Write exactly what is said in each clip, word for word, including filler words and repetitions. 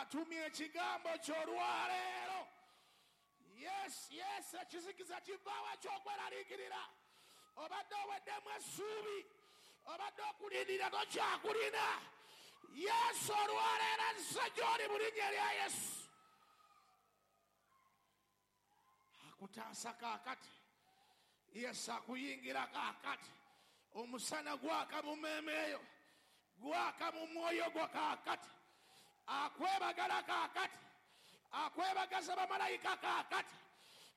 Atumye ekigambo ky'olwaleero. Yes, yes, ekizikiza kivaawo ekyokweraliikirira. Obadde oweddemu essuubi, obadde okulindirira tokyakulina. Yesu olwaleero azze gy'oli mu linnya lya Yesu. Akutaasa kaakati. Yesu akuyingira kaakati. Omusana gwaka mu mmeeme eyo, gwaka mu mwoyo gwo kaakati. Akwebagala kaakati, akwebagaza bamalayika kaakati.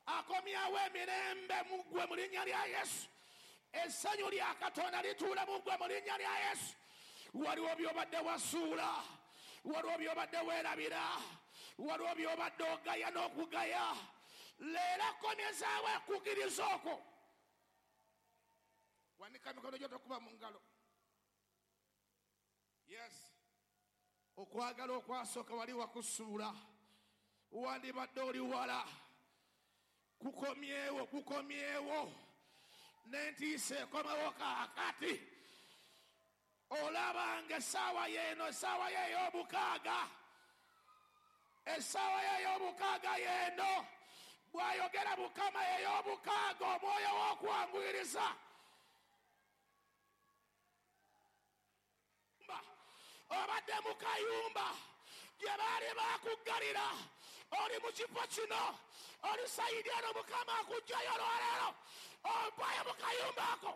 Akomyawo emirembe mu ggwe mu linnya lya Yesu. Essanyu lya Katonda lituula mu ggwe mu linnya lya Yesu. Waliwo by'obadde wasuula, waliwo by'obadde weerabira, waliwo by'obadde ogaya n'okugaya. Leero akomyezaawo ekkukiriza okwo. Wanika emikono gyo tokuba mu ngalo. Yes. Okwagala okwasooka wali wakusuula, wandibadde oli wala. Kukomyewo, kukomyewo. N'entiisa ekomewo kaakati. Olabanga essaawa yeeno, essaawa ye ey'omukaaga, essaawa ye ey'omukaaga yeeno. Bw'ayogera Mukama ey'omukaaga, omwoyo w'okwanguyiriza. Obadde mu kayumba gye baali baakuggalira, oli mu kifo kino, oli sayidi eno, Mukama akuggyayo olwaleero. Ovaayo mu kayumba ako,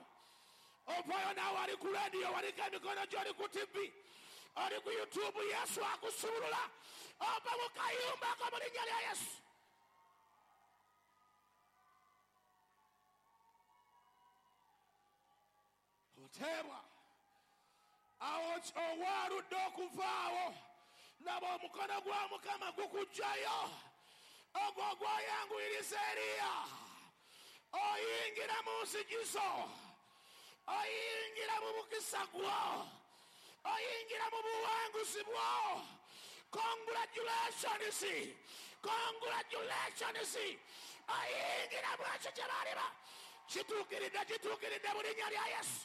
ovaayo naawe ali ku rediyo, waliko emikono gyo, oli ku T V, oli ku YouTube, Yesu akusumulula. Ova mu kayumba ako mu linnya lya Yesu. Oteebwa awo owaaludde okuvaawo, laba omukono gwa Mukama gukuggyayo, ogwo ogwayanguyiriza Eriya. Oyingira mu nzigizo, oyingira mu mukisa gwo, oyingira mu buwanguzi bwo. Congratulations, congratulations. Oyingira mu ekyo kye baaliba kituukiridde, kituukiridde mu linnya lya Yesu.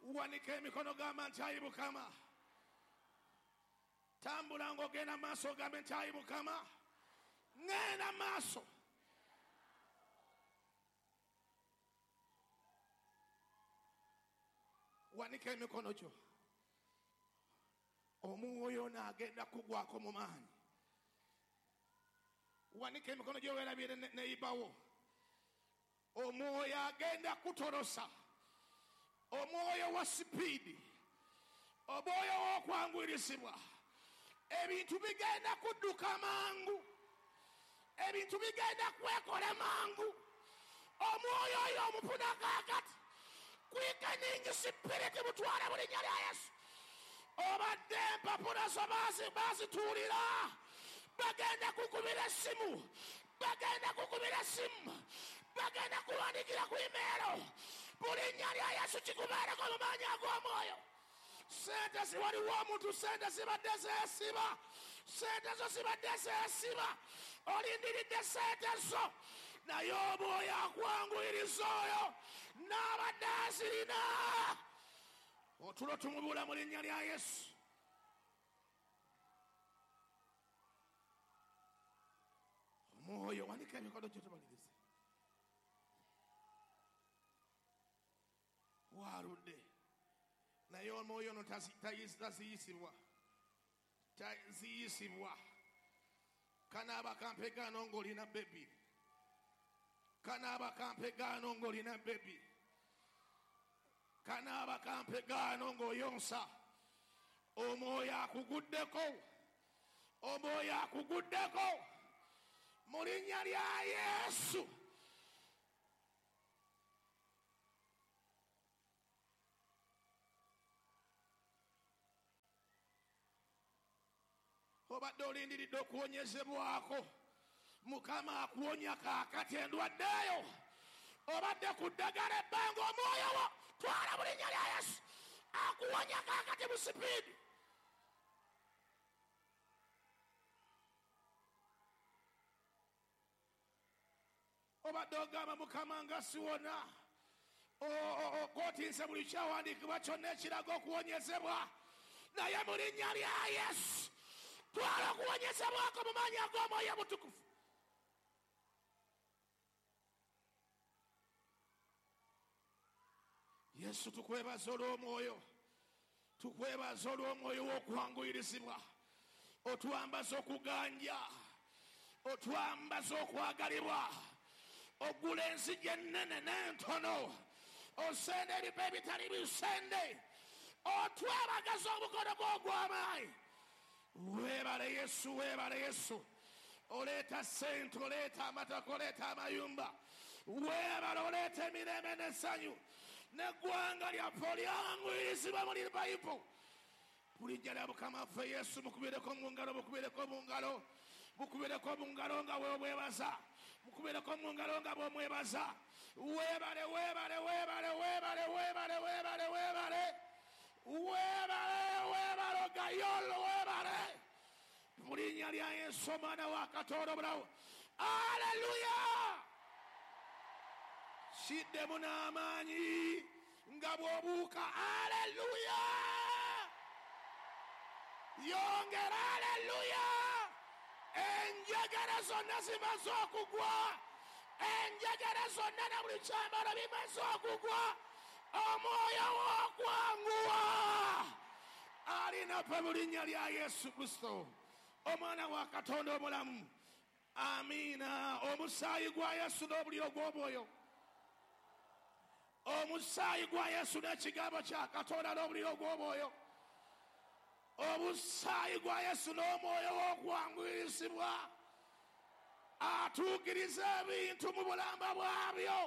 Wanika emikono, gamba nti ayi Mukama. Tambula ng'ogenda maaso, ogambe nti ayi Mukama, ŋŋenda maaso. Wanika emikono gyo. Omwoyo ono agenda kugwako mu maanyi. Wanika emikono gyo, weerabire neyibawo. Omwoyo agenda kutolosa, omwoyo wa sipiidi, omwoyo w'okwanguyirizibwa. Ebintu bigenda kudduka mangu, ebintu bigenda kwekola mangu. Omwoyo oyo omufuna kaakati. Quickening spirit, mutwale mu linnya lya Yesu. Obadde empapula zo baazituulira, bagenda kukubira essimu, bagenda kukubira essimu, bagenda kuwandikira ku email. Mu linnya lya Yesu kikubeereko mu maanyi ag'omwoyo. Sente ziwaliwo omuntu, sente zibadde zeesiba, sente zo zibadde zeesiba, olindiridde sente zo, naye omwoyo akwanguyiriza oyo n'abadde azirina. Otulo tumubula mu linnya lya Yesu. Omwoyo, wanika emikono gyo tumalirize. Waaludde, naye omwoyo ono taziyisibwa, taziyisibwa. Kanaaba kampegaano ng'olina baby, kanaaba kampegaano ng'olina baby, kanaaba kampegaano ng'oyonsa. Omwoyo akuguddeko, omwoyo akuguddeko mu linnya lya Yesu. Obadde olindiridde okuwonyezebwako, Mukama akuwonya kaakati endwadde eyo. Obadde ku ddagala ebbanga, omwoyo wo twala mu linnya lya Yesu, akuwonya kaakati mu sipiidi. Obadde ogamba, Mukama nga siwona, Okootinze buli kyawandiikibwa kyonna ekiraga okuwonyezebwa, naye mu linnya lya Yesu twala okuwonyezebwako mu maanyi ag'Omwoyo Omutukuvu. Yesu, tukwebaza olw'omwoyo, tukwebaza olw'omwoyo w'okwanguyirizibwa. Otwambaza okuganja, otwambaza okwagalibwa, ogula enzigi ennene n'entono, osenda ebifo ebitali bisende, otwebagaza omukono gwo ogw'amaanyi. Weebale Yesu, weebale Yesu. Oleeta ssente, oleeta amataka, oleeta amayumba. Weebale, oleeta emirembe n'essanyu, n'eggwanga lyaffe olyanguyirizibwa mu Bayibuli. Mu linnya lya Mukama waffe Yesu, mukubireko mu ngalo, mukubireko mu ngalo, mukubireko mu ngalo nga bw'omwebaza, mukubireko mu ngalo nga bw'omwebaza. Weebale, weebale, weebale, weebale, weebale, weebale, weebale, weebale, weebale, gayolo, weebale. Mu linnya lya Yesu, Omwana wa Katonda omulamu. Aleluya! Kiddemu n'amaanyi nga bw'obuuka. Aleluya! Yongera, aleluya! Enjegere zonna zimaze okugwa, enjegere zonna na buli kyambalo bimaze okugwa. Omwoyo w'okwanguwa alinaffe mu linnya lya Yesu Kristo, Omwana wa Katonda omulamu. Amiina. Omusaayi gwa Yesu n'obuliro gw'omwoyo, omusaayi gwa Yesu n'ekigambo kya Katonda n'obuliro gw'omwoyo, omusaayi gwa Yesu n'omwoyo w'okwanguyirizibwa atuukiriza ebintu mu bulamba bwabyo.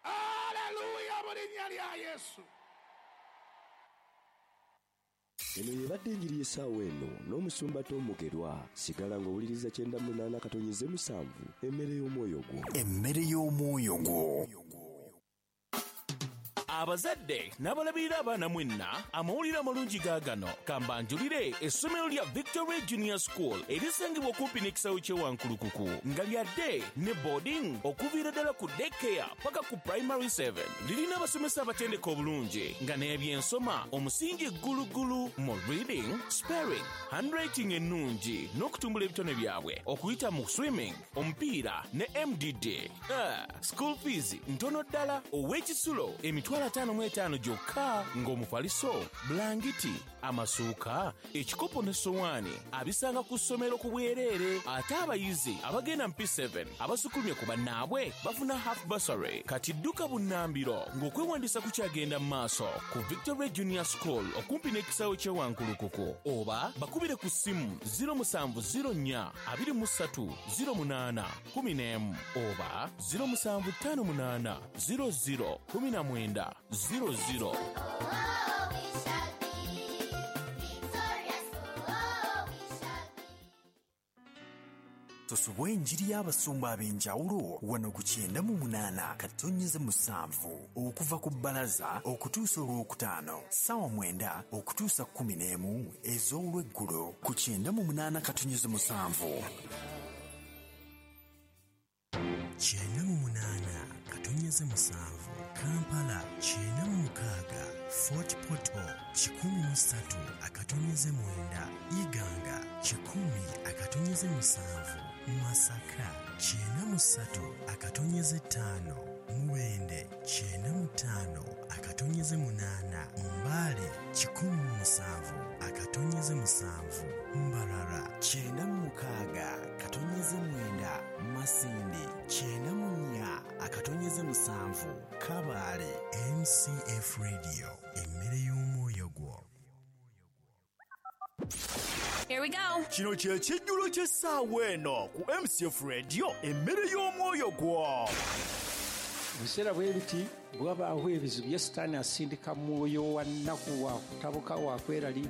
Aleluya, mu linnya lya Yesu. Eno yebadde enjiri y'essaawa eno n'omusumba Tom Mugerwa. Sigala ng'owuliriza kyenda munaana katonnyeze musanvu, emmere y'omwoyo gwo. Emmere y'omwoyo gwo. Abazadde n'abalabirira abaana mwenna, amawulire amalungi gaagano. Kambanjulire essomero lya Victory Junior School erisangibwa okumpi n'ekisaawe ky'e Wankulukuku, nga lya day ne boarding okuviira ddala ku daycare paka ku primary seven. Lirina abasomesa abatendeka obulungi nga n'ebyensoma omusingi ggulugulu mu reading, spelling, handwriting ennungi n'okutumbula ebitone byabwe okuyita mu swimming, omupiira ne M D D. Ah, school fees ntono ddala, ow'ekisulo emitwalo ataano mu etaano gyokka, ng'omufaliso, bulangiti, amasuuka, ekikopo n'essowaani abisanga ku ssomero ku bwereere. Ate abayizi abagenda mu P seven abasukulumye ku bannaabwe bafuna half bursary. Kati dduka bunnambiro ng'okwewandiisa kukyagenda mu maaso ku Victory Junior School okumpi n'ekisaawe ky'e Wankulukuku, oba bakubire ku ssimu zero musanvu zero nnya abiri mu ssatu zero munaana kumi n'emu oba zero musanvu ttaano munaana zero zero kumi na mwenda zero zero. Tosubwa enjiri y'abasumba ab'enjawulo wano ku kyenda mu munaana katonnyeze musanvu okuva ku bbalaza okutuusa olwokutaano ssaawa mwenda okutuusa kkumi n'emu ez'olweggulo ku kyenda mu munaana katonnyeze musanvu. Kyenda mu munaana katonnyeze musanvu Kampala, kyenda mu mukaaga Fort Portal, kikumi mu ssatu akatonyeze mwenda Iganga, kikumi akatonyeze musanvu Masaka, kyenda mu ssatu akatonyeze ttaano Mubende, kyenda mu ttaano akatonyeze munaana Mbale, kikumi mu musanvu akatonyeze musanvu Mbarara, kyenda mu mukaaga katonyeze mwenda Masindi, kyenda mu nnya akatonyeze musanvu Kabale. M C F Radio, emmere y'omwoyo gwo. Here we go. Kino kye kijjulo ky'essaawa eno ku M C F Radio, emmere y'omwoyo gwo. Ebiseera bwe biti bwabaawo ebizibu ye Sitaani asindika mwoyo wa nnaku wa kutabuka wa kweraliikirira.